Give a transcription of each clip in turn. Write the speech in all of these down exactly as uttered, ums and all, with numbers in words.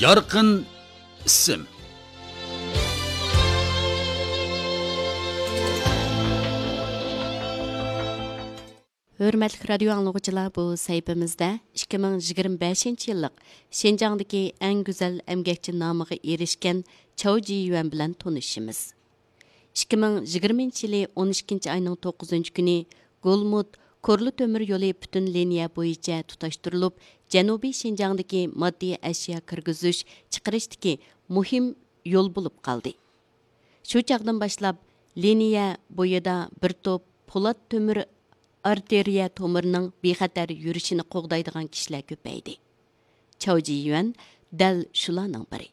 يارقىن ئىسىم. ھۆرمەتلىك رادىيو ئاڭلىغۇچىلار، بۇ سەھىپىمىزدە ئىككى مىڭ يىگىرمە بەشىنچى يىللىق شىنجاڭدىكى ئەڭ گۈزەل ئەمگەكچى نامىغا ئېرىشكەن چاۋ جىيۈەن بىلەن تونۇشىمىز. ئىككى مىڭ يىگىرمىنچى يىلى ئون ئىككىنچى ئاينىڭ توققۇزىنچى كۈنى گولمۇت كورلا تۆمۈر يولى پۈتۈن لىنىيە بويىچە تۇتاشتۇرۇلۇپ، جەنۇبىي شىنجاڭدىكى ماددىي ئەشيا كىرگۈزۈش چىقىرىشتىكى مۇھىم يول بولۇپ قالدى. شۇ چاغدىن باشلاپ، لىنىيە بويىدا بىر توپ پولات تۆمۈر ئارتېرىيە تومۇرىنىڭ بىخەتەر يۈرۈشىنى قوغدايدىغان كىشىلەر كۆپەيدى. چاۋ جىيۈەن دەل شۇلارنىڭ بىرى.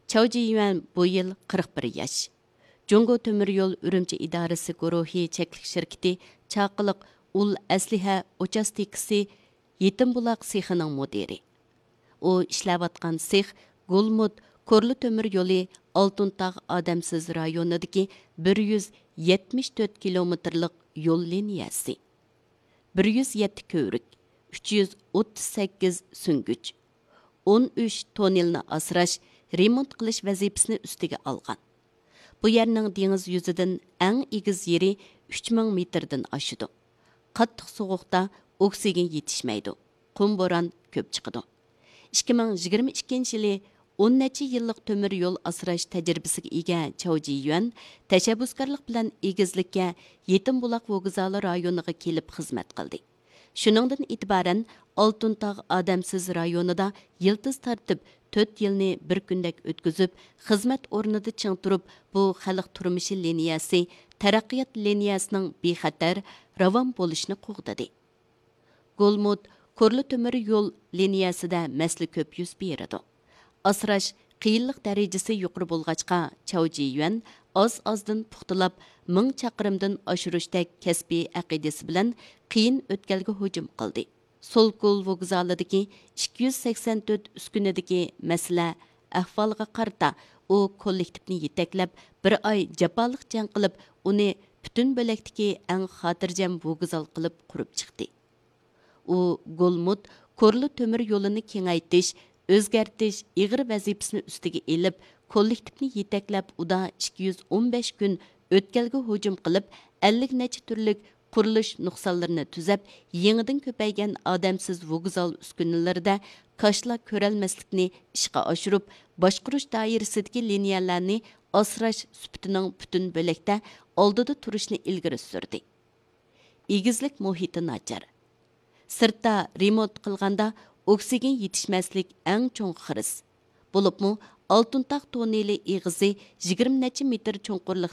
چاۋ جىيۈەن بۇ يىل قىرىق بىر ياش. جۇڭگو تۆمۈر يول ئۈرۈمچى ئىدارىسى گۇرۇھى چەكلىك شىركىتى چاقىلىق ئۇل ئەسلىھە ئۇچاستكىسى يېتىم بۇلاق سېخىنىڭ مۇدىرى. ئۇ ئىشلەۋاتقان سېخ گولمۇت كورلا تۆمۈر يولى ئالتۇن تاغ ئادەمسىز رايونىدىكى بىر يۈز يەتمىش تۆت كىلومېتىرلىق يول لىنىيەسى. بىر يۈز يەتتە كۆۋرۈك، ئۈچ يۈز ئوتتۇز سەككىز سۈڭگۈچ، ئون ئۈچ توننېلنى ئاسراش، رېمونت قىلىش ۋەزىپىسىنى ئۈستىگە ئالغان. بۇ يەرنىڭ دېڭىز يۈزىدىن ئەڭ ئېگىز يېرى ئۈچ مىڭ مېتىردىن ئاشىدۇ. قاتتىق سوغۇقتا ئوكسىگېن يېتىشمەيدۇ. قۇم بوران كۆپ چىقىدۇ. ئىككى مىڭ يىگىرمە ئىككىنچى يىلى ئون نەچچە يىللىق تۆمۈر يول ئاسراش تەجرىبىسىگە ئىگە چاۋ جىيۈەن تەشەببۇسكارلىق بىلەن ئېگىزلىككە يېتىم بۇلاق ۋوگزالى رايونىغا كېلىپ خىزمەت قىلدى. شۇنىڭدىن ئېتىبارەن، ئالتۇن تاغ ئادەمسىز رايونىدا يىلتىز تارتىپ، تۆت يىلنى بىر كۈندەك ئۆتكۈزۈپ، خىزمەت ئورنىدا چىڭ تۇرۇپ، بۇ خەلق تۇرمۇشى لىنىيەسى، تەرەققىيات لىنىيەسىنىڭ بىخەتەر، راۋان بولۇشىنى قوغدىدى. گولمۇت كورلا تۆمۈر يول لىنىيەسىدە مەسىلە كۆپ يۈز بېرىدۇ. ئاسراش قىيىنلىق دەرىجىسى يۇقىرى بولغاچقا، چاۋ جىيۈەن ئاز-ئازدىن پۇختىلاپ، مىڭ چاقىرىمدىن ئاشۇرۇشتەك كەسپىي ئەقىدىسى بىلەن قىيىن ئۆتكەلگە ھۇجۇم قىلدى. سولكول ۋوگزالىدىكى ئىككى يۈز سەكسەن تۆت ئۈسكۈنىدىكى مەسىلە ئەھۋالغا قارىتا، ئۇ كوللېكتىپنى يېتەكلەپ، بىر ئاي جاپالىق جەڭ قىلىپ، ئۇنى پۈتۈن بۆلەكتىكى ئەڭ خاتىرجەم ۋوگزال قىلىپ قۇرۇپ چىقتى. ئۇ گولمۇت كورلا تۆمۈر يولىنى كېڭەيتىش، ئۆزگەرتىش ئېغىر ۋەزىپىسىنى ئۈستىگە ئېلىپ، كوللېكتىپنى يېتەكلەپ، ئۇدا ئىككى يۈز ئون بەش كۈن ئۆتكەلگە ھۇجۇم قىلىپ، ئەللىك نەچچە تۈرلۈك قۇرۇلۇش نۇقسانلىرىنى تۈزەپ، يېڭىدىن كۆپەيگەن ئادەمسىز ۋوگزال ئۈسكۈنىلىرىدە كاشىلا كۆرەلمەسلىكنى ئىشقا ئاشۇرۇپ، باشقۇرۇش دائىرىسىدىكى لىنىيەلەرنى ئاسراش سۈپىتىنىڭ پۈتۈن بۆلەكتە ئالدىدا تۇرۇشنى ئىلگىرى سۈردى. ئېگىزلىك مۇھىتى ناچار. سىرتتا رېمونت قىلغاندا ئوكسىگېن يېتىشمەسلىك ئەڭ چوڭ خىرىس. بولۇپمۇ ئالتۇن تاغ توننېلى ئېغىزى يىگىرمە نەچچە مېتىر چوڭقۇرلۇق